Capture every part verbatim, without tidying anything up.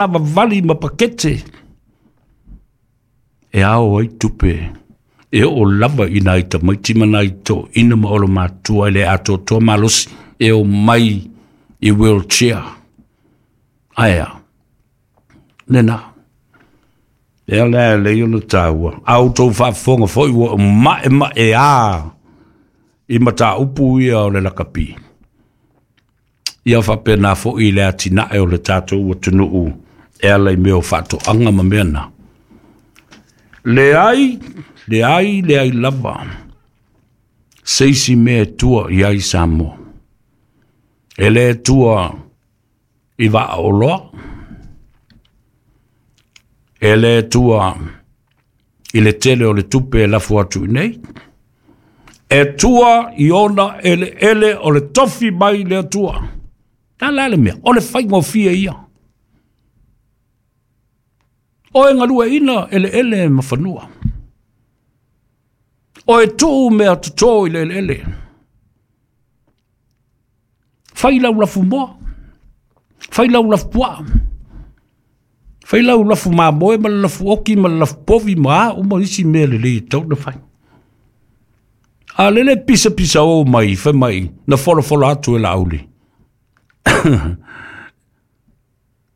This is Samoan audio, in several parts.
Savavali ma pakete e ao ai tupe e oo lava i nai tamaiti ma nai toeaiina ma olomatua e le atoatoa malosi e omai i wheelchair. Ae a lena e ala e lei ona taua a outou faafofoga foi ua ma'ema'e a i mataupu ia o le lakapi ia faapena fo'i i le atina'e o le tatou atunuu e ala i mea o faatoaga ma mea na. Leai, leai, leai lava se isi mea e tua i ai Samoa. E lē tua i vaaoloa, e lē tua i le tele o le tupe e lafo atu i nei, e tua i ona eleele o le tofi mai le Atua. Ta la le mea, o le faigofie ia. O e galueaiina eleele ma fanua. O e tuu mea totō i le eleele. Fai lau lafu moa, fai lau lafu puaa, fai lau lafu mamoe ma le lafu oki ma le lafu povi ma a uma isi mea lelei e tatau ona fai. A lele pisapisa o mai fai mai na folafola atu e Laauli.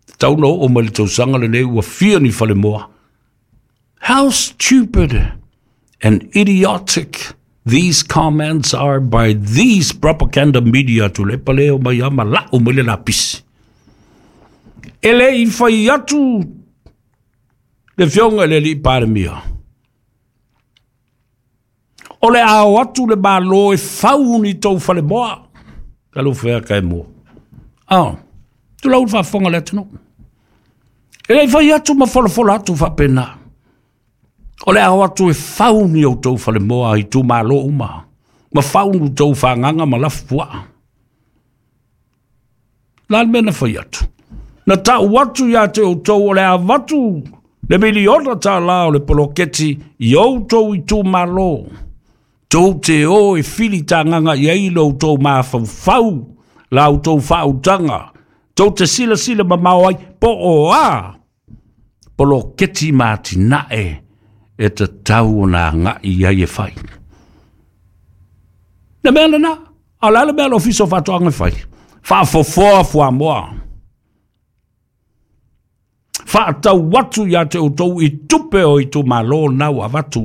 Tatau na oo mai le tausaga lenei ua fia ni falemoa. How stupid and idiotic these comments are by these propaganda media. Tuilaepa le o mai ama lau mai le lapisi. E le i fai atu le afioga i le alii Palemia o le a o atu le Malo e fau ni tou falemoa. Talofa e ka e mua. Ah, tulou le faafofoga a le atunuu. E le i fai atu ma folafola atu faapena. O le a o atu e fau ni outou falemoa i itumalo uma ma fau ni outou fagaga ma lafu puaa. La le mea na fai atu. Na tau atu ia te outou o le a avatu le miliona tālā o le poloketi i outou itumalo. Tou te o e filitagaga i ai lo outou mafaufau, la outou faautaga. Tou te silasila mamao ai po o a poloketi ma atinae e tatau ona agai i ai e fai. Le mea lena, a o le a le mea a le Ofisa o Faatoaga e fai? Faafofoa fuamoa. Faatau atu ia te outou i tupe o itumalo na ua avatu.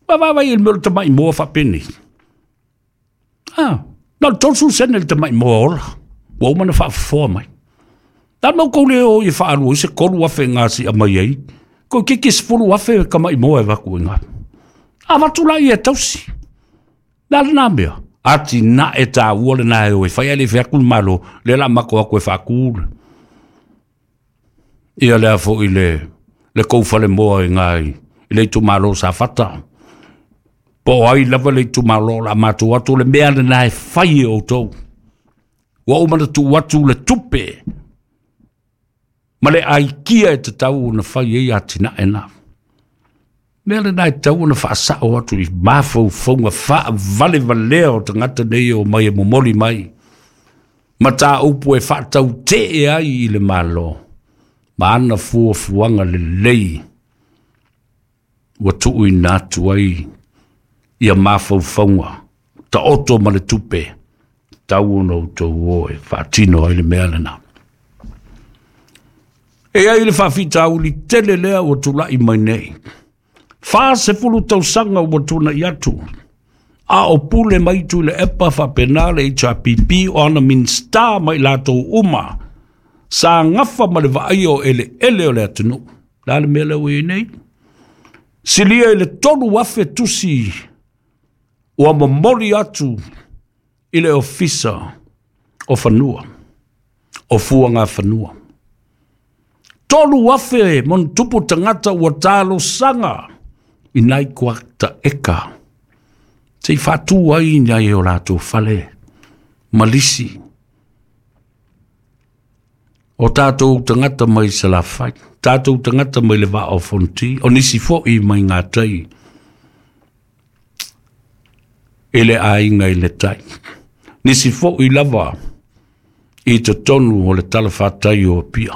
Vaavaai i le mea o le tamai moa faapenei. Ah, na o le tolusefulu sene le tamai moa ola. Ua uma ona faafofoa mai. Na le mau le o i faalua i se tolu afe gasia mai ai. Ko kiki sefulu afe tamai moa e avatu i ngā. Avatu la ia e tausi. Le a lena mea? Atinae taua lena e o e fai ae le i fai atu le Malo, lea o le a matou o atu e faatu ia lea foi le le tou falemoa i ngā i le itumalo o Safata. Po o ai lava le itumalo o le a matou atu, o le mea lena e fai e outou. Ua uma ona tuu atu le tupe ma le aikia e tatau ona fai ai atinae na. Mea lena e tatau ona faasao atu i mafaufauga faavalevalea o tagata nei e omai e momoli mai mataupu e faatautee ai i le Malo ma ana fuafuaga lelei ua tuuina atu ai ia mafaufauga taoto ma le tupe tatau ona outou o e faatino ai le mea lena. E i ai le faafitauli tele lea ua tulai mai nei. Fa sefulu tausaga ua tuna'i atu a o pule mai Tuilaepa faapena le H R P P o ana Minisita ma i latou uma sa gafa ma le vaaia o eleele o le atunuu. Le a le mea lea ua i ai nei? Silia i le tolu afe tusi ua momoli atu i le Ofisa o Fanua, o Fuagafanua. Tolu afe ma ona tupu tagata ua talosaga i nai kuata eka se i faatu ai nai o latou fale ma lisi. O tatou tagata mai Salafai, tatou tagata mai le Vaa o Fonoti, o nisi fo'i mai gatai i le aiga i le tai. Nisi fo'i lava I totonu o le talafatai o Apia.